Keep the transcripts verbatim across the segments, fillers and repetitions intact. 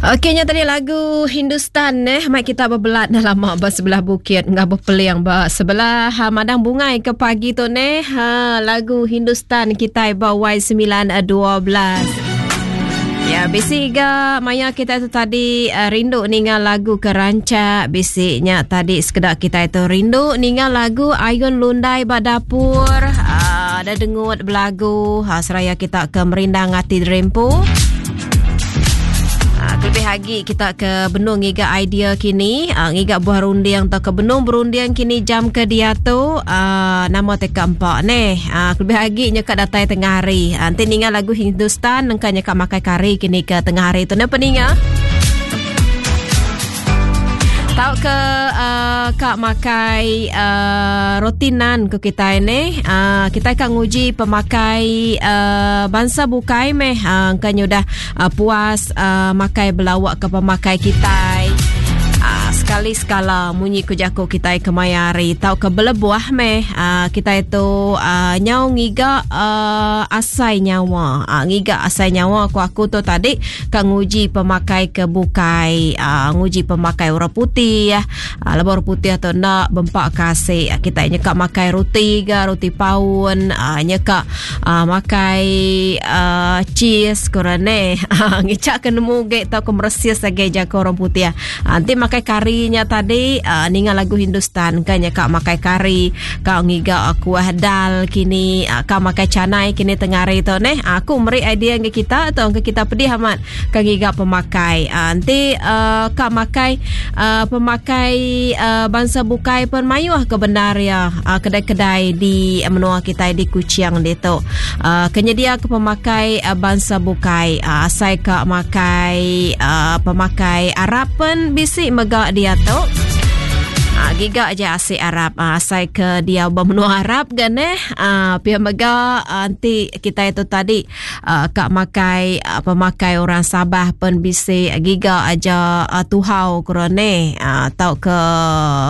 Okey nya tadi lagu Hindustan eh mai kita bebelat dah lama ba sebelah bukit enggau bepeling ba sebelah ha, madang bungai ke pagi tu neh ha, lagu Hindustan kitai ba Y sembilan dua belas. Ya, bisi ga maya kita tu tadi uh, rindu ninga lagu ke rancak, bisi nya tadi sekeda kita itu rindu ninga lagu Ayun Lundai ba dapur, uh, ada dengut belagu ha, seraya kita ke merindang ati derempu. Lebih lagi kita ke benung ngiga idea kini, uh, ngiga buah runding atau ke benung berunding kini jam ke dia tu uh, nama T K empat neh. Uh, lebih lagi nyekak datai tengah hari. Uh, nanti ninga lagu Hindustan nengka nyekak makai kari kini ke tengah hari tu ne peninga. Tau ke uh, kak makai uh, roti nan ke kita ni uh, kita akan nguji pemakai uh, bangsa bukai meh uh, kan udah uh, puas uh, makai belawak ke pemakai kita uh, sekali sekala munyi ku jaku kita kemayari tau ke belebuah meh uh, kita itu uh, nyau ngiga uh, asai nyawa uh, ngiga asai nyawa aku aku tu tadi ka nguji pemakai ke bukai uh, nguji pemakai orang putih ya uh, lebar orang putih atau nak bempak kasih uh, kita nyekak makai roti ga roti paun uh, nyekak uh, makai uh, cheese kurane uh, ngicak ke nemu ge tau ke meresis lagi jago orang putih uh, nanti makai karinya tadi uh, ninga lagu Hindustan kan nyekak makai kari kau ngiga kuah dal kini uh, kau makai canai kini tengah hari tu neh aku meri idea ke kita atau ke kita pedih amat kau ngiga pemakai uh, nanti uh, kau makai uh, pemakai uh, bangsa bukai pun mayuh ke benar ya uh, kedai-kedai di menua kita di Kuching dia tu uh, kenyedia ke pemakai uh, bangsa bukai uh, asai kau makai uh, pemakai Arab pun bisi megak dia tu. Ha, giga aja asik Arab ha, asai ke dia bermenua Arab kan eh ha, pihak mega nanti kita itu tadi uh, kak makai uh, pemakai orang Sabah pun bisi giga aja uh, tuhau kurane uh, tau ke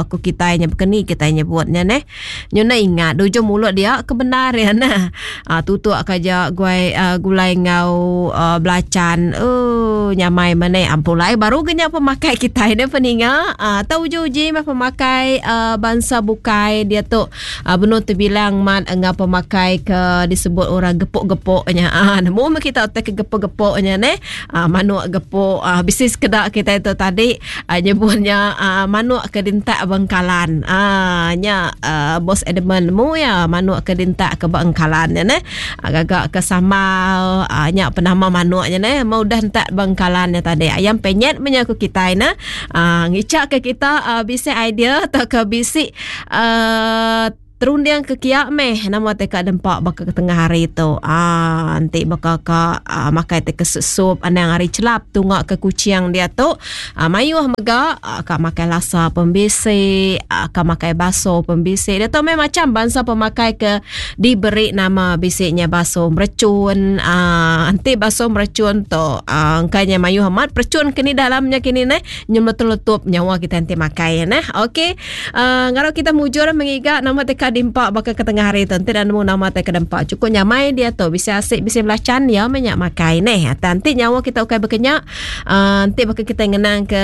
ku kita nya bekeni kita nyebutnya neh nyuna ingat ujung mulut dia kebenar ya nah uh, tutuk kaja guai uh, gulai ngau uh, belacan oh nyamai mane ampulai baru genya pemakai kita ini peninga uh, tau uji-uji mah pemakai pemakai uh, bangsa bukai dia tu uh, benar terbilang mat ngah pemakai ke disebut orang gepuk-gepuknya ah nemu kita otak ke gepuk-gepuknya ne ah manuk gepuk ah bisnis kedak kita itu tadi uh, nyebutnya uh, manuk ke dintak Bengkalan ah nya uh, bos Edmund mu ya manuk ke dintak ke Bengkalan ne agak-agak ke sambal uh, nya penama manuknya ne mau dah entak Bengkalan tadi ayam penyet menyaku kita na ah ngicak ke kita uh, bisa idea atau ke bisik uh, terunding ke kiak meh nama teka dempak baka ke tengah hari tu ah nanti baka ka uh, makai teka sup anang hari celap tungak ke kucing dia tu ah, mayuh mega ah, ka makai lasa pembisik ah, ka makai baso pembisik dia tu memang macam bangsa pemakai ke diberi nama bisiknya baso mercun ah nanti baso mercun tu ah kanya mayuh amat percun kini dalamnya kini neh nyum letup nyawa kita nanti makai neh okey uh, ngaro kita mujur mengiga nama teka dimpak bakal ke tengah hari tu nanti dah nemu nama teka dempak cukup nyamai dia tu bisa asik bisa belacan ya banyak makai neh nanti nyawa kita ukai berkenyak uh, nanti bakal kita ngenang ke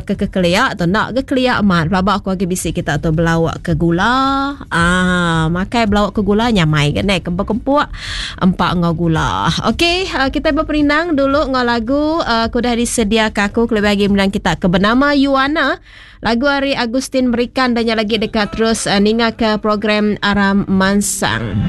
ke ke keliak tu nak ke keliak amat pelabak aku lagi bisik kita tu belawak ke gula ah makai belawak ke gula nyamai ke neh kempuk-kempuk empak ngau gula okey uh, kita berperindang dulu ngau lagu uh, aku dah disediakan aku lebih lagi menang kita ke bernama Yuana lagu hari Agustin Merikan dan yang lagi dekat terus uh, ninga ke program Aram Mansang.